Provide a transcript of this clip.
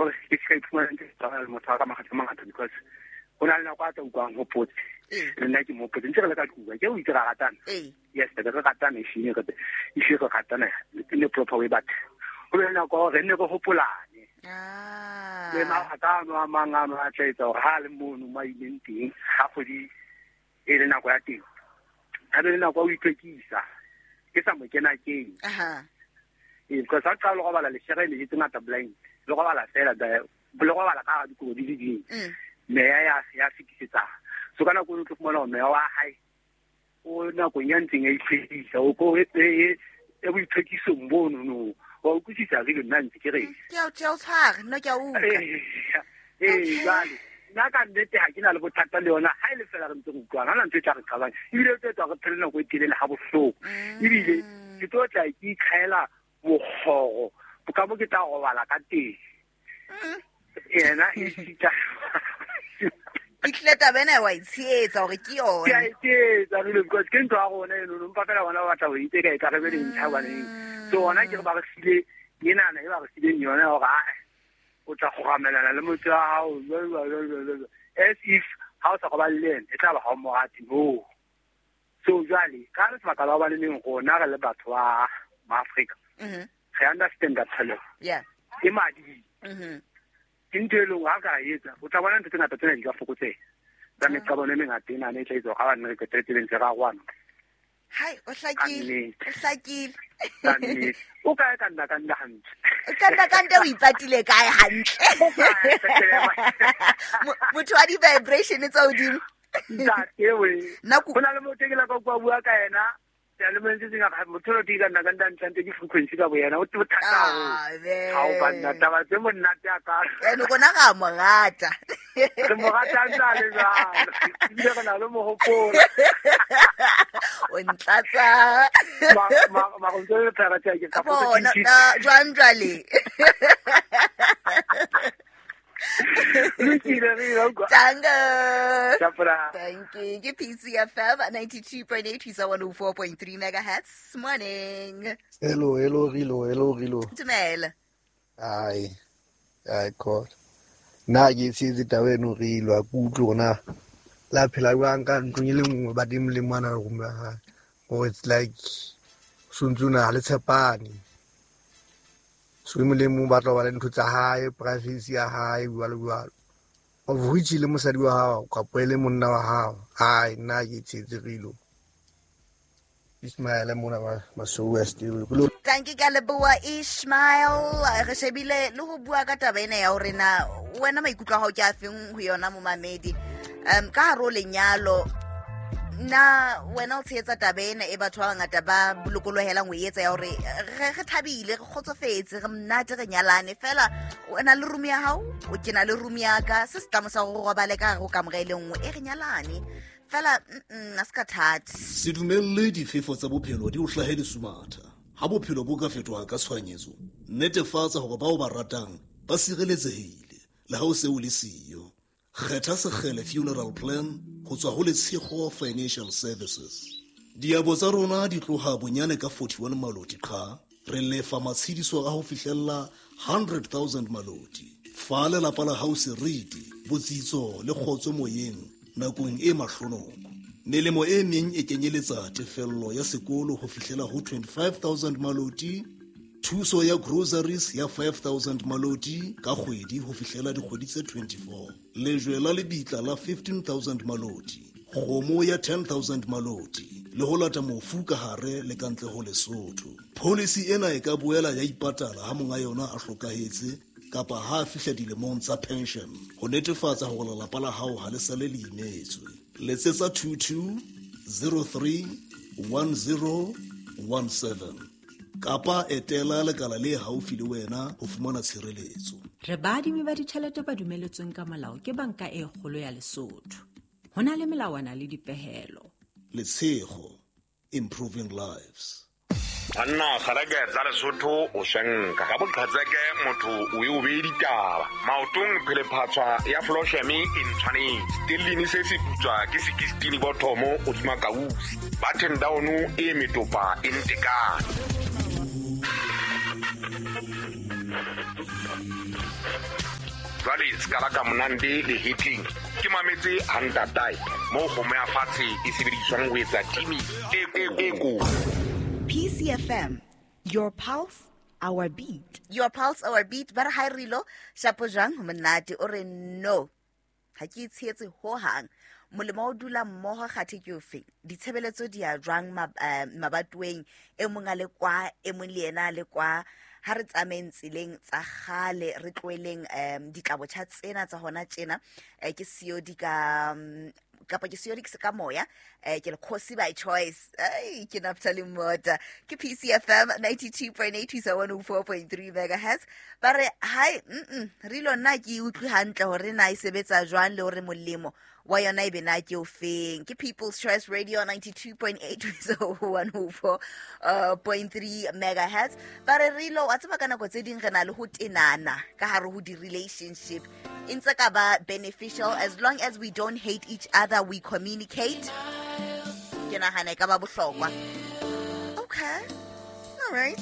Gore ke se ka iphumana ntse ke tsamaya le motho wa ka makgetlo a mangata, because go na le nako a tla utlwang gopotse le nna ke mo gopotse ntse re le ka tlung ke o itse ra ratana. Yes, re ratana, ehlile re ehlile re ratana in a proper way, but go be le nako ya gore re nne re gopolane. Le mabaka ano a mang ano a tla etsa gore ha a le mono mo a ileng teng, ha kgwedi e le nako ya teng, a be le nako ya ho itlhwekisa, ke sa mo kena keng. Ee, because ha qala le robala leshere le tse ngata blind, le robala fela, le robala ka hara dikobo di le ding. Meya ya fetisetsa. So ka nako eo o tlo fumana hore meya wa hae o nakong ya ntseng ya itlhwekisa, o ko e boitlhwekisong bono no. Wa utlwisisa re nna ntse ke reng? Ke a o tshwara, nna ke a utlwa. Ee, jwale nna ka nnete ha ke na le bothata le yona, ha e le fela re ntse re utlwana, ha hona ntho e tla re qabang, ebile e tlo etsa re phele nako e telele ha bohloko. Ebile ke tlo tla ke ikgaela mokgoro ka mo ke tla robala ka teng. Yena e sita. Ehlile taba ena wa e tshehetsa hore ke yona. Ke a e tshehetsa, really, because ke ntho ya rona eno, no, empa fela bona ba batla ho itse ka e tla re be le ntlha hobaneng. So hona ke re ba re file enana e ba re fileng yona ya hore, ae, o tla kgoramelana le motho wa hao, jwalo, jwalo, jwalo, jwalo, jwalo. As if ha o sa robale le yena, e tla ba ha o mo rate, no. So jwale, ka re sebaka la hobane neng rona re le batho ba Maafrika, re understand that tshwanelo. E madi. Ke ntho e leng ha ka etsa, o tla bona ntho tse ngata tsena di ka fokotseha. Tsa meqabano e mengata ena e tla etsa hore ha ba nne re qetelletse be ntse re arohana. Hai, o hlakile, Ka nnete. o hlakile. Ka nnete. O kae ka nna ka nna hantle? Ka nna ka nna o ipatile kae hantle? O kae, Petrela? Motho wa di-vibration tsa hodimo. Ntate we. Nna ko- Ho na le motho e ke la ka utlwa bua ka yena. Seyalemoyeng se seng, a re, motho o teng ka nna ka nna ntle, ntle ke frequency ka boyena. O thata haholo. Ah, be. Ha o banna, taba tse monate a ka. Ene rona ra mo rata. Re mo rata ntse a le jwalo. Ebile re na le mohopolo. O ntlatsa. Mara o ntse o le phela tje, ke ka potsa Bona, ke na, jwang jwale? Lokile, re ile utlwa. Tango. Tjapela. Thank you. Ke PCFM 92.8 ho isa 104.3 megahertz. Morning. Hello, hello, Rilo, hello, Rilo. Dumela. Ai. Ai, God. Nna ke tshehetse taba eno, Rilo, ha ke utlwe hore na la phela jwang ka ntlong e le nngwe, ba teng le mwana le room ya hae. Or it's like so ntso na le tshepane. So e mong le mong o batla ho ba le ntho tsa hae, privacy ya hae, jwalo jwalo. Of which le mosadi wa hao kapa e le monna wa hao. Ai, nna ke tshehetse Rilo. Ismail mona ba Masou West. Thank you ka leboha Ishmael. Re shebile le ho bua ka taba ena ya hore na wena maikutlo a hao ke a feng ho yona momamedi. Ka hare ho lenyalo, na wena o tshehetsa taba ena e batho ba bangata ba lokolohelang ho e etsa ya hore re thabile, re kgotsofetse, re monate, re nyalane fela. Wena le room ya hao, o ke na le room ya ka, se setlamo sa hore o robale ka hare ho kamore e le nngwe, e re nyalane fela, a se ka thata. Se dumelle difefo tsa bophelo di o hlahe lesumatha. Ha bophelo bo ka fetoha ka tshohanyetso, netefatsa hore bao ba ratang ba sireletsehile le ha o se o le siyo. Kgetha Sekgele Funeral Plan ho tswa ho Letshego Financial Services. Diabo tsa rona di tloha bonyane ka 41 maloti qha, re lefa matshediso a ho fihlella 100,000 maloti. Fa lelapa la hao seriti, botsitso le kgotso moyeng nakong e mahlonoko. Melemo e meng e kenyeletsa tefello ya sekolo ho fihlela ho 25,000 maloti, thuso ya groceries ya 5,000 maloti ka kgwedi ho fihlela dikgwedi tse 24, lejwe la lebitla la 15,000 maloti, kgomo ya 10,000 maloti, le ho lata mofu ka hare le ka ntle ho Lesotho. Policy ena e ka boela ya ipatala ha monga yona a hlokahetse kapa ha a fihla dilemong tsa pension, ho netefatsa hore lelapa la hao ha le sale le imetswe. Letsetsa 22 03 10 17 kapa etela lekala le haufi le wena ho fumana tshireletso. Re baadimi ba ditjhelete ba dumeletsweng ka molao ke Banka e Kgolo ya Lesotho. Ho na le melawana le dipehelo. Letshego, improving lives. Banna kgareke tsa Lesotho o swenka ka boqhetseke, motho o e o bee ditaba maotong, phelephatshwa ya flosheme e ntshwanetse stellini se se putswa ke sekistini bothomo hodima kausi button down e metopa e ntekane. Jwale se kala ka monande lehetleng ke mametse ha ntatae moo kgomo ya fatshe e sebediswang ho etsa timi e ko. PCFM, your pulse, our beat. Your pulse, our beat. Ba re ha rilo shapo jwang ho monate o re no. Ha ke itshetse ho hang. Molemo o dula mmoho kgathe ke ofe? Ditshebeletso di ya jwang mabatoweng e mong a le kwa, e mong le yena a le kwa. Ha re tsamayeng tseleng tsa kgale, re tlohelleng ditlabotjha tsena tsa hona tjena. Ke siyo di ka kapa ke siyo di ka moya, ke le khosi by choice. Ai, ke Naftali Mota. Ke PCFM 92.8 to 104.3 megahertz. Ba re hai, rilo nna ke utlwe hantle hore na e sebetsa jwang le hore molemo wa yona e be na ke o feng. Ke People's Choice Radio 92.8 to 104.3 megahertz. Ba re rilo wa tseba ka nako tse ding re na le ho tenana ka hare ho di-relationship. E ntse ka ba beneficial as long as we don't hate each other, we communicate. Ke nahana e ka ba bohlokwa. Okay. All right.